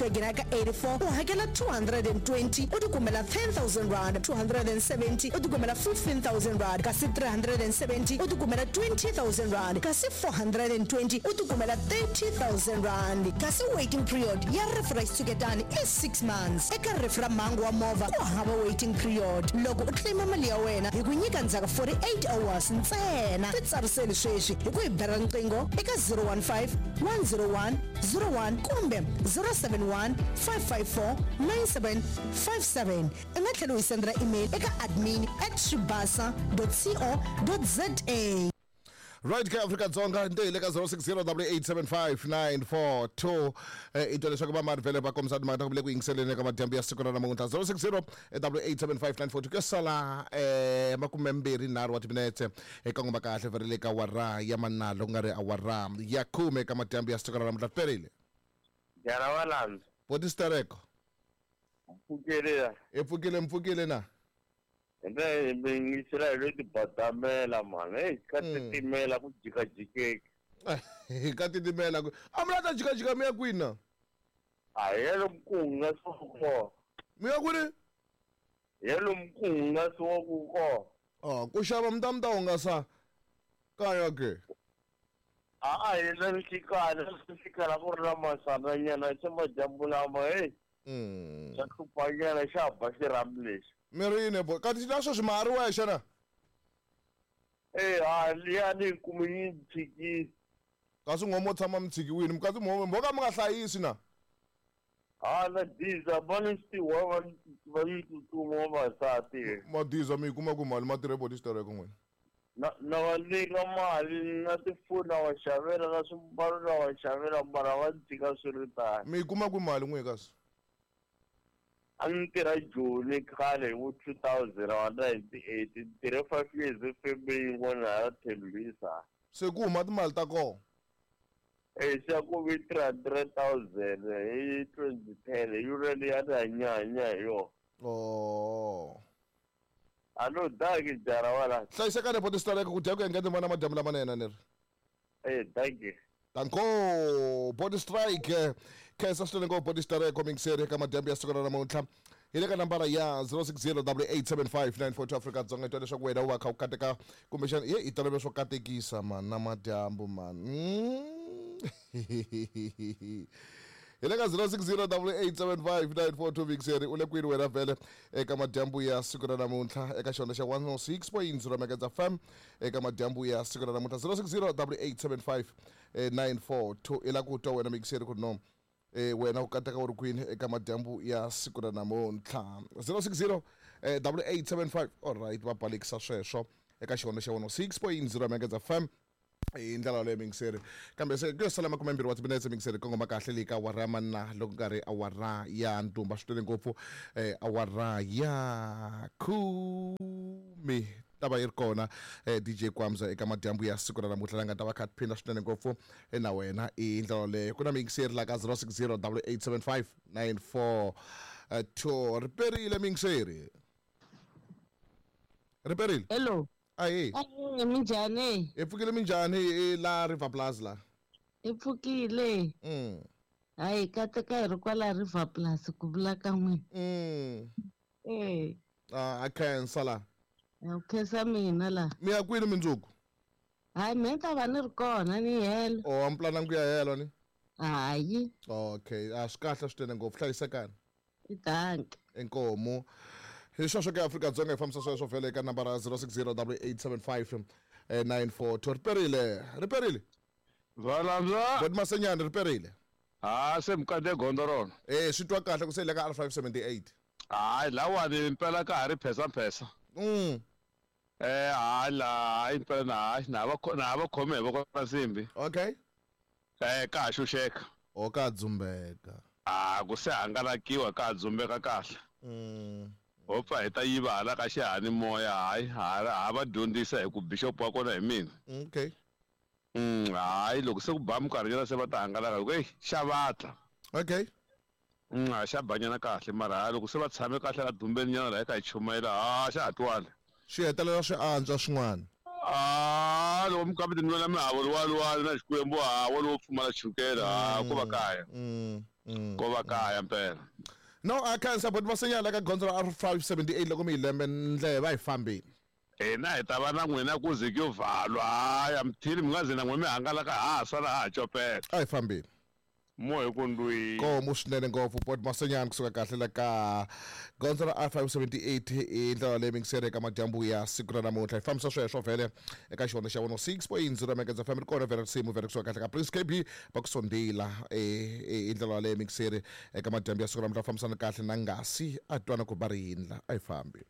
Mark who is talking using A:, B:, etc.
A: Wagon ka 84 u hakela 220 u tikumela R10,000, 270 u tikumela R15,000 kasi 370 u tikumela R20,000 kasi 420 u tikumela R30,000. Kasi waiting period ya rifu ra xitshuketani i 6 months. Eka rifu ra mhangu wa movha ku hava waiting period. Loko u claim mali ya wena hi ku nyika ndzhaku 48 hours ntsena. Titsariseli sweswi hi ku hi bela riqingho eka 015 101 01 kumbe 071 554 9757. U nga tlhela u hi sendela email eka admin at swibasa co za.
B: Right ke Afrika-Dzonga nte hi le ka 060 875 i twa leswaku vamani vhele va kombisa timhaka ta ku vule ku yingiseleni eka madyambu ya siku ra namuntlha. 060 875 ku ya sala 23 wa timinetse eka ngoma kahle vhele le ka awara ya manalo ku nga ri awara ya 10 eka madyambu ya siku ra namuntlha. Perile
C: Jara wa landza.
B: Boti Stereko.
C: Mpfukile ya.
B: I pfukile mpfukile na.
C: Hi mingisela hi lo tibadamela mani. Hey, ka titimela ku jikajikeki.
B: Ka titimela ku. A mi la ta jikajika mi ya kwini na?
C: A hi ya lomu ku hungasiwa kona.
B: Mi ya kwini?
C: Hi ya lomu ku hungasiwaku kona.
B: Oh, ku xava mi ta mi ta hungasa kaya ke.
C: A hi na nhlikana, nhlikana ku ri na masananyana se madyambu lama hey. Xa hluphanyana xa ba xirhami lexi.
B: Mi ri yini bo? Kanti na sweswi ma ha ri wexe na?
C: Eh, ha liya ni kume yi tshikile.
B: Kasi nghomo tshama mi tshikiwile, kasi mo ka mi nga hlayisi na?
C: Ha na diza va ni swiwa va va yi tsutsuma vavasati.
B: Madiza mi yi kuma ku mali ma tirhe boti Stereko n'wina.
C: Na na va nyika mali na tifoni na va xavela na swimbalo na va xavela mara va tshika swi ri tano.
B: Mi yi kuma ku mali n'wina kasi?
C: A ni tirha Joni khale hi vo 2098 ni tirhe 5 years efemeni yin'wana hala Tembisa.
B: Se ku huma timali ta kona?
C: Eh, se ku vi 300,000 hi 2010 hi yona leyi a ni hanya hanya hi yona.
B: Oh.
C: A no danki jara wala.
B: Hlayisekani boti Stereko ku dya ku engeta vona madyambu lamanene ni ri.
C: Eh, danki.
B: Danko Body Strike khensa swinene ngopfu Body Strike mingiseri eka madyambu ya siku ra namuntlha hi le ka nambara ya 060 875 Afrika-Dzonga twa leswaku wena u va kha u kateka kumbexana ye i tolovela swo katekisa man na madyambu man. Hi le ka 060 875 mingiseri u le kwini wena vhele eka madyambu ya siku ra namuntlha eka xona xa 106.0 Megahertz FM eka madyambu ya siku ra namuntlha 060 875 942 i la ku twa wena mingiseri ku no wena u kateka u ri kwini eka madyambu ya siku ra namuntlha 060 8875. Alright, va balekisa sweswo eka xivandla xa 106.0 Megahertz FM hi ndlela yaleyo mingiseri. Kambe se ku yo sala 20 wa timinetse mingiseri kongoma kahle leyi ka awara ya manna loko nga ri awara ya ntumba swi twele ngopfu awara ya 10 ta va yi ri kona DJ Kwamza eka madyambu ya siku ra namuntlha la nga ta va kha phinda swinene ngopfu na wena i ndlela leyo. Ku na mingiseri la ka 060 875 942. Riperile mingiseri, riperile.
D: Hello.
B: Ahe.
D: Ahe, minjhani?
B: Hi pfukile minjhani la River Plus la?
D: Hi pfukile. Hayi kateka hi ri kwala River Plus ku vula ka n'wina. Eh.
B: A khensa la.
D: U khensa mina la.
B: Mi ya kwini mindzuku?
D: Hayi mina ta va ni ri kona ni helo.
B: Oh, a mi plananga ku ya helo ni?
D: Hayi.
B: Okay, a swi kahle swinene ngopfu, hlayisekani.
D: I danki.
B: Inkomu. Hi sweswo ke Afrika-Dzonga hi fambisa sweswo vhele eka nambara 060 875 942. Riperile, riperile.
E: Valandza.
B: Boti Masenyani riperile.
E: Ha se mukande gondzo rona.
B: Eh, swi twa kahle ku se le ka R578.
E: Hayi lawani impela ka ha ri phesa phesa. Eh, hayi la, hayi impela na hayi na va na va khome hi voko ra nsimbi.
B: Okay.
E: Eh, ka ha xuxeka.
B: O ka dzumbeka.
E: Ah, ku se hangalakiwa ka ha dzumbeka kahle. Ho pfa hi ta yiva hala ka xihani moya hayi ha va dyondzisa hi ku bishop wa kona hi mina.
B: Okay.
E: Hayi loko se ku ba minkarhi nyana se va ta hangalaka hi ku ey xa vatla.
B: Okay.
E: Xa banyana kahle mara hayi loko se va tshame kahle la dumbeni nyana la hi ka hi chumayela ha xa ha twali.
B: Swi hetelela swi antswa swin'wana.
E: Ah, loko mi kambe tinwela mihavo luwa luwa na Xikwembu ha wa lowo pfumala chukele ha ku va kaya. Ko va kaya mpela.
B: No, a khensa but Masenyana ka gondzo ra R578 loko mi hi lembe ndleve a hi fambeni.
E: Hina hi ta va na n'wina ku ze ku yo vhalwa. Haya mthini mi nga ze na n'we mi hangalaka ha ha sala ha ha copela.
B: A hi fambeni.
E: Mo hi ku ndwii.
B: Nkomu swinene ngopfu Bot Masenyani kusuka kahle la ka gondzo ra R578 hi ndlela leyi mingiseri eka madyambu ya siku ra namuntlha. Hi fambisa sweswo vhele eka xivandla xa 106.0 Megahertz FM ri kona vhele risimu vhele kusuka kahle ka Prince KB va ku sondela hi ndlela yaleyo mingiseri eka madyambu ya siku ra namuntlha fambisana kahle na ngasi a twana ku ba ri yindla a hi fambi.